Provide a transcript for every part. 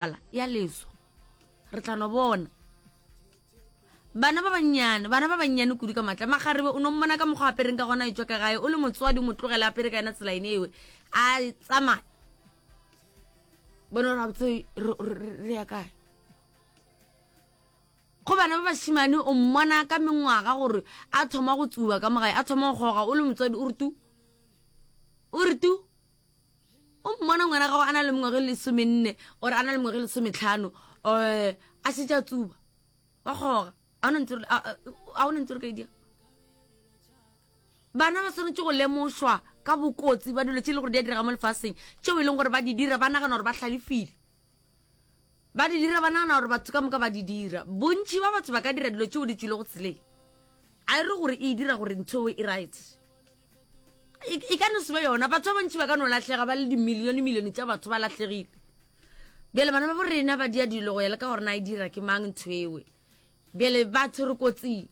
Ya leso re tla no bona bana ba bannyane, bana ba bannyane kudu ka matla. Makgarebe o no mmona ka mokgwa apereng ka gona, etšwa ka gae o le motswadi, o mo tlogele apere ka yena tsela ene ewe a tsamaya. Bona gore gabotse re ya kae. Go bana ba bašemane o mmona ka mengwaga gore a thoma go tsuba ka mo gae, a thoma go kgoga, o le motswadi o re tu, o re tu. O mmona ngwana gago a na le mengwaga e lesomenne or a na le mengwaga e lesometlhano um a šetše a tsuba wa kgoga, a o ntse re ka e dira. Bana ba swanetše go lemošwa ka bokotsi ba dilo tše e le gore di a direga mo lefaseng, tšeo e leng gore ba di dira ba nagana gore ba hlalefile, ba di dira ba nagana gore batho ka moka ba di dira. Bontši ba batho ba ka dira dilo tšeo di tšwilego tseleng, a e re gore e dira gore ntho e right. E, e ka no se be yona. Batho ba bantši ba ka no lahlega, ba le dimilione milione tša batho ba lahlegile. Bjale bana ba bo rena ba dia dilo go ya le ka gore na e dira ke mang ntho ewe. Bjale batho re kotsing,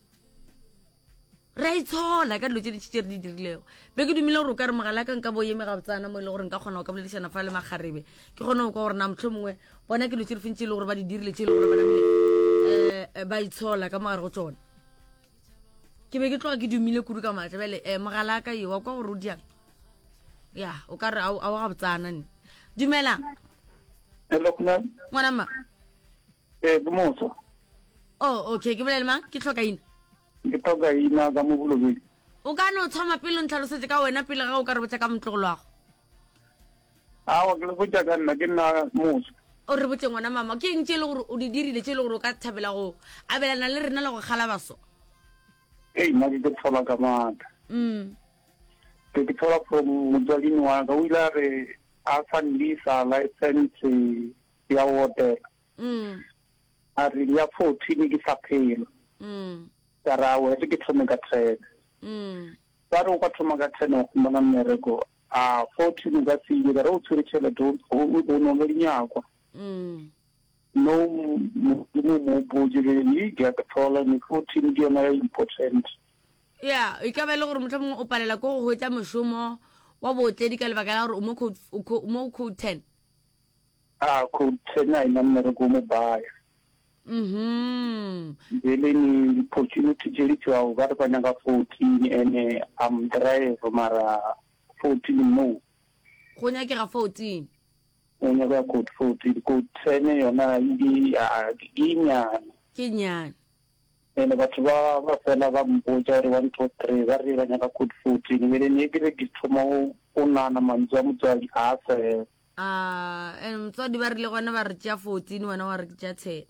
re a itshola ka dilo tše dintši tše re di dirilego. Be ke dumile gore o ka re mogala ka nka bo eme gabotsana mo e le gore nka kgona go ka boledišana fa le makgarebe, ke kgone go kwa gore na motlho mongwe bona ke dilo tše di feng tše e le gore ba di dirile tše e le gore ba namile um ba itshola ka mogare go tsona. Ke be ke tloga ke dumile kudu ka maatla. Bjale um mogala ka eo wa kwa gore o diang ya o ka re a o gabotsana nne. Dumela. Hello, Khumalo. Ngwana mma. Eh, ke motho. Oh, okay, ke bolele mang? Ke tlhoka ina. Ke tlhoka ina ka mo Bolobedu. O ka no thoma pele o ntlhalosetse ka wena pele ga o ka re botša ka motlogolo wa go. Aowa, ke le botša ka nna, ke nna motho. O re botše ngwana mama, ke eng tše e le gore o di dirile tše e le gore o ka thabela go abelana le rena le go kgala baso? Ei, nna ke ke tshola ka maatla. Mm. Ke ke tshola from motswadini wa ka, o ile a re a sa nlisa license ya go otela. Mm. A re ya 14 ke sa phela. Mm. Ka re aowa, e re ke thome ka 10. Mm. Ba re o ka thoma ka 10 wa humana mmereko. A 14 o ka se ile, ka re o tshwere tšhelete o, o, o no le dinyakwa. Mm. No, Modimo mo botše ke re, ke a ke thola, ne 14 ke yona ya important. Ya, e ka ba e le gore mohlomongwe o palela ko go hwetša mošomo wa bootledi ka lebaka la gore o mo code, o co, mo code 10. A code 10 a ena mmereko o mo baya. Mhm. Bjale ni di-opportunity tše di tšwago ba re ba nyaka 14 ene I'm drive mara 14 no. Go nyakega 14. Go nyakega code 14, code 10 yona ke ke nyane. Ke nyane. Ene batho ba ba fela ba mpotša gore 1 2 3 ba re ba nyaka code 14 bjale ne ke re ke thoma go nagana mantšu a motswadi a fela. A and motswadi ba rile gona ba re tšea 14 wena wa re ke tšea 10.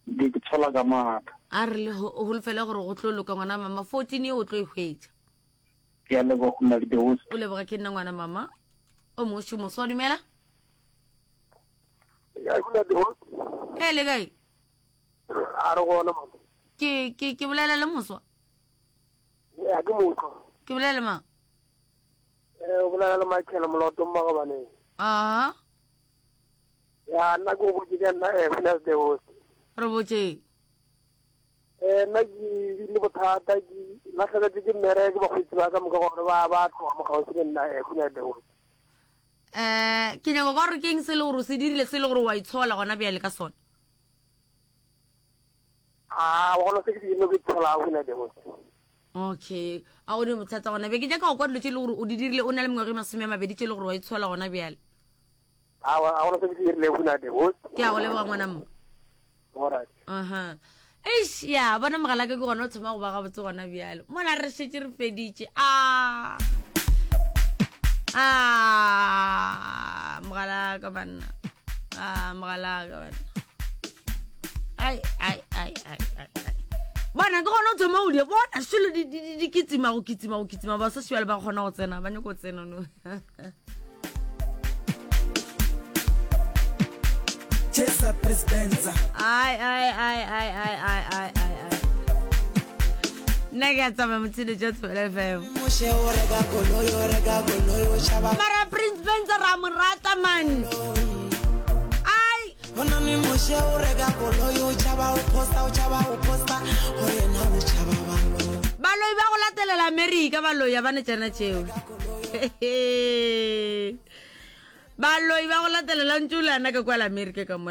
Ke ke tshola ka maatla. A re le holofele gore go tlo loka ngwana mama 14 ye o tlo e hwetša. Ke a leboga go nna le the host. O leboga ke nna ngwana mama. O mongwe šomo so dumela. Ya go the host. E le kae? A re gona mama. Ke ke ke bolela le moswa. Ya ke motho. Ke bolela le mang? Eh, o bolela le Michael Moloto Mmagabaneng. Aha. Ya nna ke go botse ka nna eh Finance the host. Re botse. Eh nna ke bile bothata ke latlhegetse ke mmereko bakgweetsi ba ka moka gore ba ba tloga mo gaufi le nna eh Finance the host. Eh ke nyaka kwa gore ke eng se le gore o se dirile se le gore wa itshola gona bjale ka sona. A gona se ke se dirile ke itshola Finance the host. Okay, a o ne bothata gona be ke nyaka go kwa dilo tše e le gore o di dirile o na le mengwaga e masome a mabedi tše e le gore wa itshola gona bjale. Awa, a gona se ke se dirilego na the host. Ke a go leboga ngwana mma. Alright. Aha. Eish, ya bona mogala ka ke gona o thoma go ba gabotse gona bjale. Mola re šetše re feditše. Ah. Ah, mogala ka banna. Ah, mogala ka banna. Ai, ai, ai, ai, ai. Bona ke gona o thoma o di bona selo di di di kitsima go kitsima go kitsima ba sa šwale ba kgona go tsena ba nyako tsena no. Chesa Presidenza. Ai ai ai ai ai ai ai ai ai. Nna ke a tsamaya motshelo jwa Thobela FM. Moshe o reka koloi o reka koloi o tšhaba. Mara Prince Benza ra mo rata man. Ai Bonane Moshe o reka koloi o tšhaba o posta o tšhaba o posta gore yena o tšhaba baloi. Baloi ba go latelela Amerika baloi a ba ne tšana tšeo. Baloi ba go latelela ntse o le ana ka kwa la Amerika ka mola.